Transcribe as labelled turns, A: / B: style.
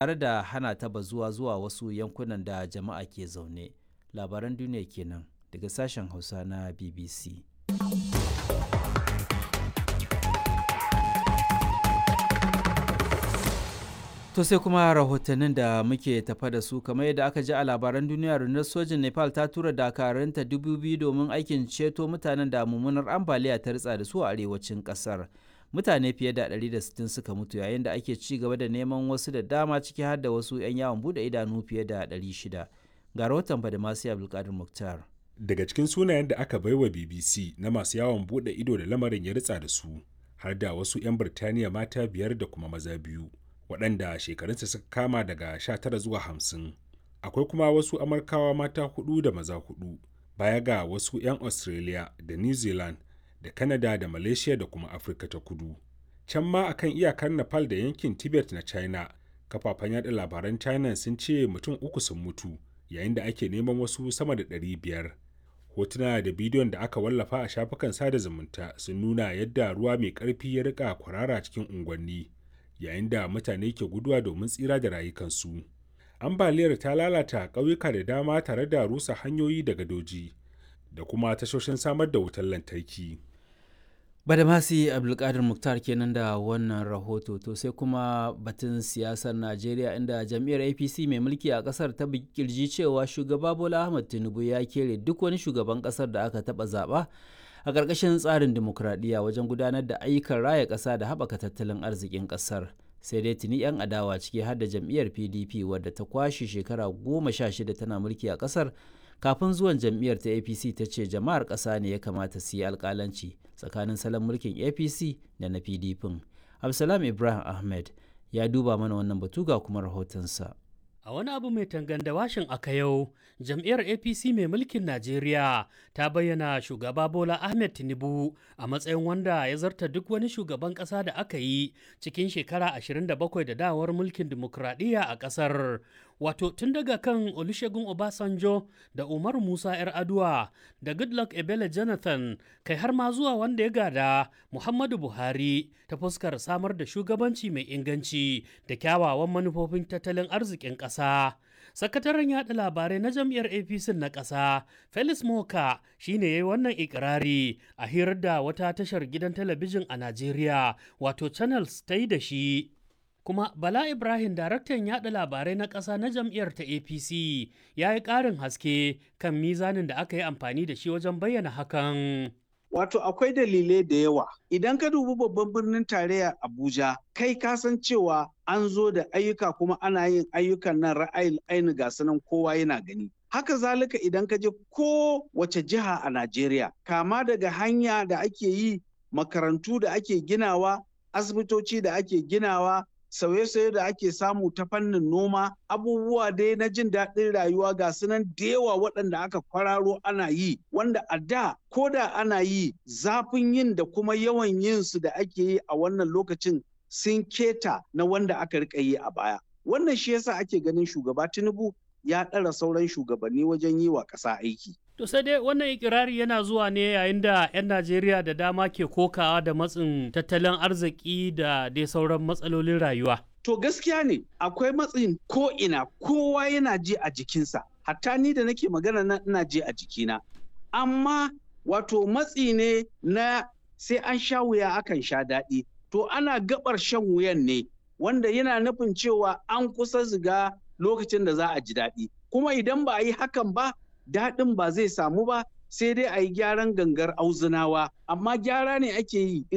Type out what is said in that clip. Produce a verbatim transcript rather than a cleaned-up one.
A: Tare da hana ta bazuwa zuwa wasu yankunan da jama'a ke zaune. Labaran duniya kenan daga sashen Hausa na B B C. To sai kuma rahotannin da muke tafa da su. Kamar yadda aka ji a labaran duniya, rundunar sojin Nepal ta tura dakarunta dubu biyu domin aikin ceto mutanen da mummunar ambaliya ta ritsa da su a arewacin kasar. Mutane fiye da ɗari da sittin suka mutu yayin da ake ci gaba da neman wasu da dama, ciki har da wasu 'yan yawon bude idanu fiye da ɗari shida. Ga rahoton Badamasi Abdulkadir Muktar.
B: Daga cikin sunayen da aka baiwa B B C na masu yawon bude ido da lamarin ya ritsa da su, har da wasu 'yan Birtaniya mata biyar da kuma maza biyu, waɗanda shekarunsa suka kama daga sha tara zuwa hamsin. Akwai kuma wasu Amurkawa mata hudu da maza hudu, baya ga wasu 'yan Australia da New Zealand da Canada da Malaysia da kuma Afirka ta Kudu. Can ma akan iyakar Nepal da yankin Tibet na China, kafafen yada labaran China sun ce mutum uku sun mutu yayin da ake neman wasu sama da ɗari biyar. Hotuna da bidiyon da aka wallafa a shafukan sada zumunta sun nuna yadda ruwa mai ƙarfi ya rika kwarara cikin unguwanni yayin da mutane ke guduwa domin tsira da rayukansu. Ambaliyar ta lalata ƙauyuka da dama tare da rusa hanyoyi da gadoji da kuma tashoshin samar da wutar lantarki.
A: Badamasi Abdulkadir Muktar kenan da wannan rahoto. To sai kuma batun siyasar Najeriya, inda jam'iyyar A P C mai mulki a kasar ta kirji cewa shugaba Bola Ahmed Tinubu ya kere duk wani shugaban kasar da aka taba zaba a ƙarƙashin tsarin dimokuraɗiyya wajen gudanar da ayyukan raya ƙasa da haɓaka tattalin arzikin ƙasar. Sai dai tuni 'yan adawa, ciki har da jam'iyyar P D P wadda ta kwashe shekara goma sha shida tana mulki a ƙasar kafin zuwan jam'iyyar ta A P C, ta ce jama'ar ƙasa ne ya kamata su yi alƙalanci tsakanin salon mulkin A P C da na P D P. Absalam Ibrahim Ahmed ya duba mana wannan batu, ga kuma rahotonsa.
C: A wani abu mai tanganda washin aka yau, jam'iyyar A P C mai mulkin Najeriya ta bayyana shugaba Bola Ahmed Tinubu a matsayin wanda ya zarta duk wani shugaban ƙasa da aka yi cikin shekara ashirin da bakwai da dawar mulkin dimokuraɗiyya a ƙasar. Wato tun daga kan Olusegun Obasanjo da Umar Musa 'Yar Aduwa da Goodluck Ebele Jonathan, kai har ma zuwa wanda ya gada Muhammadu Buhari, ta fuskar samar da shugabanci mai inganci da kyawawan manufofin tattalin arzikin ƙasa. Sakataren yaɗa labarai na jam'iyyar A P C na ƙasa, Felix Moka, shine ya yi wannan ikirari a hirar da wata tashar gidan talabijin a Najeriya, wato Channels, ta yi da shi. Kuma Bala Ibrahim, daraktan yada labarai na ƙasa na jam'iyyar ta A P C, ya yi ƙarin haske kan mizanin da aka yi amfani da shi wajen bayyana hakan.
D: Wato akwai dalilai da yawa. Idan ka dubi babban birnin tarayya Abuja, kai ka san cewa an zo da ayyuka kuma ana yin ayyukan nan ra'ayin aini, ga sanan kowa yana gani. Haka zalika idan ka je ko wace jiha a Najeriya, kama daga hanya da ake yi, makarantu da ake ginawa, asibitoci da ake ginawa, sauye-sauye da ake samu ta fannin noma, abubuwa dai na jin daɗin rayuwa ga sunan da yawa waɗanda aka kwararo ana yi, wanda a da ko da ana yi, zafin yin da kuma yawan yin su da ake yi a wannan lokacin sun keta na wanda aka rika yi a baya. Wannan shi yasa ake ganin shugaba Tinubu ya ɗara sauran shugabanni wajen yi wa ƙasa aiki.
C: To sai dai wannan ikirari yana zuwa ne yayin da 'yan Najeriya da dama ke kokawa da matsin tattalin arziki da dai sauran matsalolin rayuwa.
D: To gaskiya ne akwai matsin ko'ina, kowa yana ji a jikinsa, hatta ni da nake magana nan ina ji a jikina. Amma wato matsi ne na sai an sha wuya akan sha daɗi. To ana gabar shan wuyan ne, wanda yana nufin cewa an kusa ziga lokacin da za a ji daɗi. Kuma idan ba a yi hakan ba, daɗin ba zai samu ba, sai dai a yi gyaran gangar auzunawa, amma gyara ne ake yi.